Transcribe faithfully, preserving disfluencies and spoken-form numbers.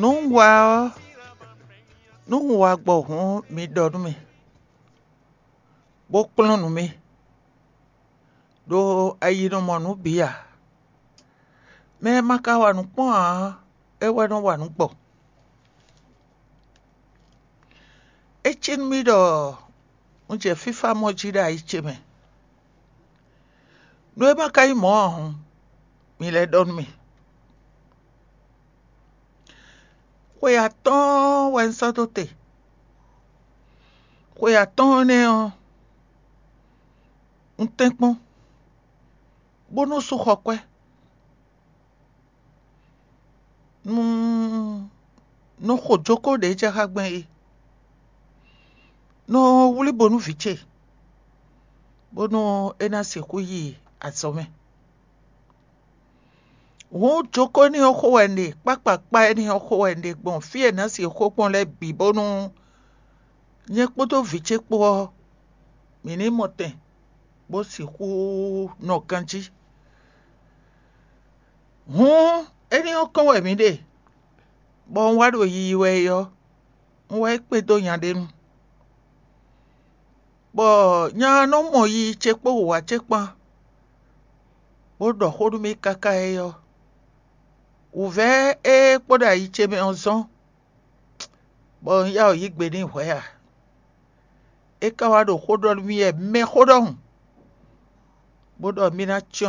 Nú un wa ɔ́, nú un wa gbɔ hǔn, mi ɖɔ nú mì, bó kplɔ́n nǔ mì, ɖó ayi nɔ mɔ nǔ bǐ ǎ. Mɛ e ma ka wa nǔ kpɔ́n ǎ, é wɛ nɔ wa nǔ gbɔ. É cí nú mì ɖɔ un jɛ fífá mɔ jí ɖo ayi ce mɛ. Nú é ma ka nyí mɔ̌ ǎ hǔn, mi lɛ́ ɖɔ nú mì. Xwe atɔ́ɔ́n wɛ un sɔ́ dó te. Xwe atɔ́ɔ́n énɛ́ ɔ́, un tɛ́nkpɔ́n, bó nɔ́ sú xɔ kwɛ́. Nú nɔ xo jókó ɖě jɛ xá gbɛn é, nɔ wlí bo nú vǐ ce, bónú é ná sixú yi azɔ̌ mɛ. Hǔn jókó énɛ́ ɔ́ xo wɛ un ɖe, kpákpakpá énɛ́ ɔ́ xo wɛ un ɖe gbɔn fí e è nǎ sixú xo gbɔn lɛ́ɛ bǐ, bónú nyɛ kpódó vǐ ce kpó ɔ́, mǐ ní mɔ tɛn bó sixú nɔ ganjí. Hǔn énɛ́ ɔ́ kɔn wɛ mǐ ɖe, bɔ un wá ɖo yiyi wɛ é ɔ́, un wá yi kpé dó nya ɖé nu, bɔ nya ɔ́ nɔ mɔ yiyi ce kpó wǔwá ce kpán, bó ɖɔ xó nú mì káká é ɔ́, wǔvɛ́ e kpo ɖo ayi ce mɛ ɔ́ zɔ́n, bɔ un yá wǔ yí gbe n'i hwɛ̌ ǎ. É ka wá ɖo xó ɖɔ nú mì wɛ mɛxó ɖɔhun, bó ɖɔ mì ná cyɔ́n